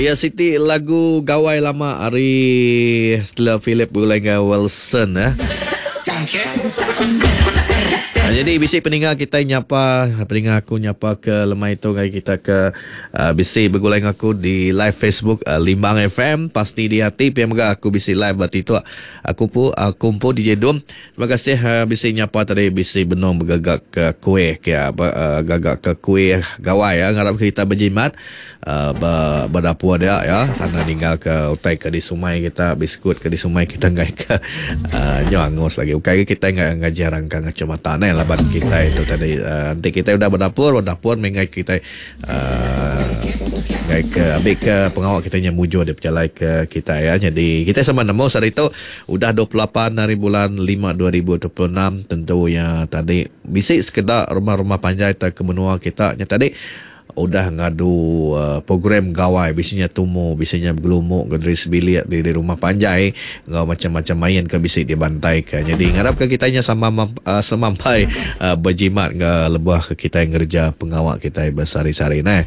Iya siti lagu gawai lama ari Stella Philip begulai enggau Wilson eh. Ah, jadi bisi peninga kita nyapa peninga aku nyapa ke lemai tu ngagai kita ke uh, bisi begulai enggau aku di live Facebook uh, Limbang FM pasti di hati pia mega aku bisi live ba TikTok aku pu aku empu DJ Dum. Terima kasih uh, bisi nyapa tadi bisi benung begagak ke kuih ke uh, gagak ke kuih gawai ya ngarap kita berjimat uh, ba ba dapur dia ya sana ninggal ke utai ke disumai kita biskut ke disumai kita ngai ke uh, nyo angus lagi ukai ke kita ngai ngaji rangka ngacu mata neh laban kita itu tadi uh, enti kita udah berdapur berdapur mengai kita uh, ngai ke ambil ke pengawa kita nya mujur di pejalai ke kita ya. Jadi kita sama nemu sehari tu udah 28 hari bulan 5 2026 tentu ya tadi bisi sekeda rumah-rumah panjai tak ke menua kita nya tadi Udah ngadu program gawai bisi nya tumu, bisi nya begelumu ke diri sebilik di rumah panjai enggau macam-macam main ke bisi dibantaika. Nyadi ngarapka kitai nya sama semampai bejimat enggau lebuh kitai ngereja pengawa kitai besehari-sehari neh.